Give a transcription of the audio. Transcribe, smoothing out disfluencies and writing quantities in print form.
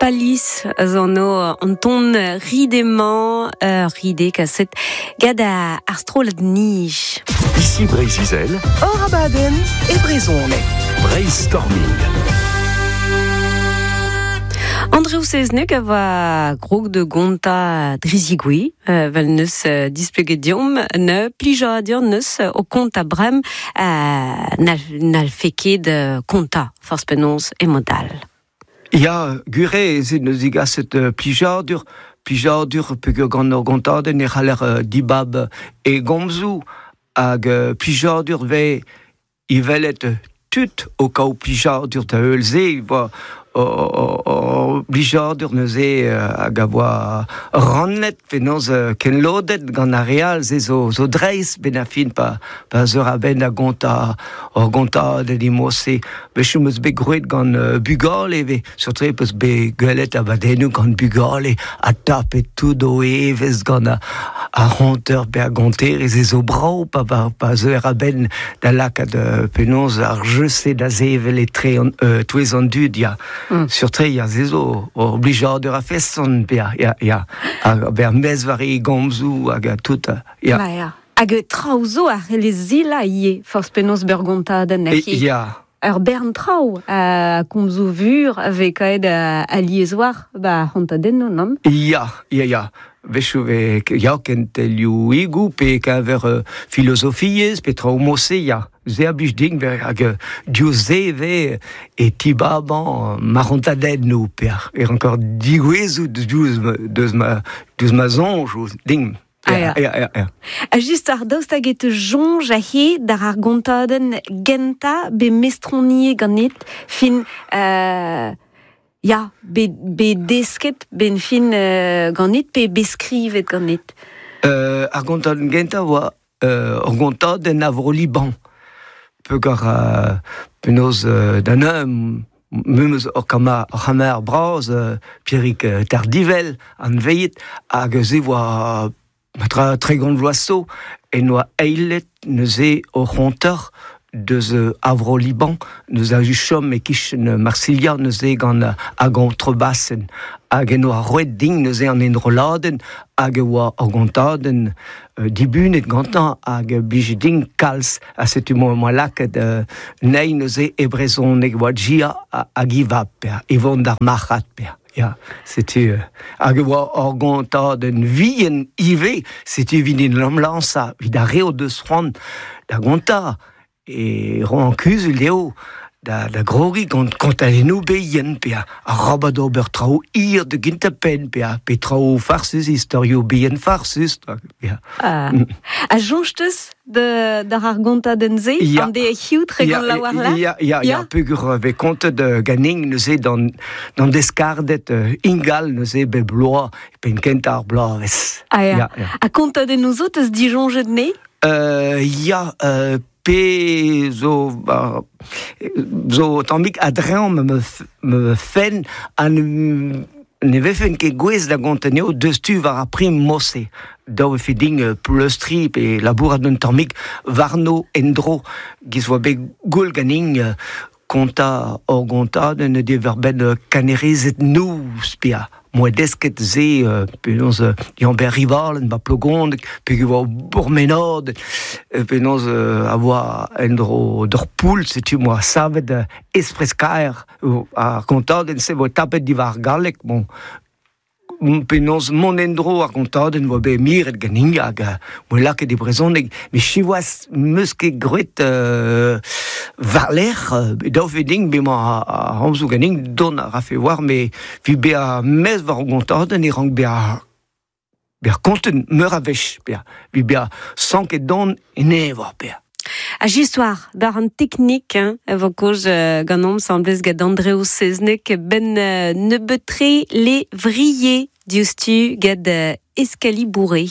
Palis a zo anv an ton ride-mañ, ur ride kaset gant ar strollad Nij. Ici Breizh-Izel. Hor abadenn e brezhoneg. Breizh-Storming. Andrev Sezneg a oa krog da gontañ dre zigouez, vel neus displeget deomp, ne plijadur neus o kontañ brem n'hallfe ket kontañ forzh penaos e mod all. Ya, gwir eo ez eo neus degaset plijadur, plijadur peogwir gant ur gontadenn e c'haller dibab e gomzoù hag plijadur 'vez e welet tud o kaout plijadur da heul se e oa plijadur neuze hag a oa rannet penaos kenlodet gant ar re all se zo, zo dreist benn ar fin pa, pa zeur a-benn da gontañ ur gontadenn e-mod-se. Wechoù 'm eus bet groet gant bugale ivez, surtout 'peus bet gwelet abadennoù gant bugale ha tapet tout o evezh gant ar c'honter pe ar gonterez e zo brav pa, pa, pa zeuer a-benn da lakaat penaos ar jeu-se da sevel etre an, touez an dud, ya. Surtout, ya, se zo ur blijadur a-feson, ya, ya, ya. Hag ber mezv war e gomzoù hag tout, ya. Ba ya. Hag traoù zo a c'hellez zilañ ivez, forzh penaos beurgontadenn E, ya. Ur bern traoù ha komzoù vur a vez kaet alies war ba c'hontadennoù, nann? Ya, ya, ya. Wechoù vez ya kentelioùigoù pe keñver filozofiezh pe traoù mod-se, ya. Se a blij din hag diouzh se e vez e tibabañ ma c'hontadennoù pe e ranker digouezout diouzh deus ma deus ma soñj din. Ah, ya. Ya, ya, ya. Ha just ar daoust hag e teu soñj aze d'ar ar gontadenn gentañ bet mestroniet ganit fin ya, bet, bet desket ben fin ganit pe bet skrivet ganit? Ar gontadenn gentañ oa ur gontadenn a Vro-Liban. Peogwir penaos da neuze memes ur c'hamar bras, Pierrick Tardivel, anveet, hag se oa tra 30 vloaz zo, en oa eilet neuze o c'honter deus a Vro-Liban, neus a chom e-kichen Marsilha neuze gant ar gontrbasenn. Hag en oa roet din neuze an enrolladenn hag e oa ur gontadenn dibunet gantañ hag blije din kalz ha setu moa lakaet nei neuze e brezhoneg oa Gia hag e vab e vont d'ar marc'had ya setu hag e oa ur gontadenn vihan ivez setu evit en em lañsañ evit ar re o deus c'hoant da gontañ e roan kuzul dezho da, da grogiñ gant kontadennoù bihan pe arabat ober traoù hir da gentañ penn pe, pe traoù farsus, istorioù bihan farsus. Ya. Ah. Ha soñj 'teus d'ar ar gontadenn-se Ya. an de hiziv tregont la war Ya, ya, ya, peogwir vez kontet ganin neuze d'an d'an deskarded ingal neuze bep bloaz penn kentañ ar bloavezh. Ah, ya. Ya, ya. Ha kontadennoù zo 'teus disoñjet ne? Ya, pe zo ba, zo tammig a-dreñv ma ma fenn ha ne vefen ket gouest da gontañ anezho deus-tu war ar prim mod-se. Dav e vefe din pleustriñ pe labourat un tammig warno en-dro giz 'oa bet gwell ganin kontañ hor gontadenn diwar-benn kanerezed noz pe moa desket se penaos Yann-Ber Rivalen 'ba Plogoneg peogwir oa bourmenad penaos a oa en-dro d'ur poull setu moa savet espres-kaer ar gontadenn-se 'voa tapet diwar ar galleg bon Penaos mont en-dro ar gontadenn 'oa bet miret ganin hag 'oa lakaet e brezhoneg met siwazh 'meus ket graet war-lerc'h daou ve din emañ ar c'homzoù ganin dont a rafe war me evit bezañ mezv war ar gontadenn e rank bezañ bezañ kontet meur a wech bezañ evit bezañ sanket don en eñvor bezañ. Ha just war war an teknik hein, e vo kaoz ganeomp asambles gant Andreo Seznec benn nebeut-tre levrier diouzhtu gant Escalibouré.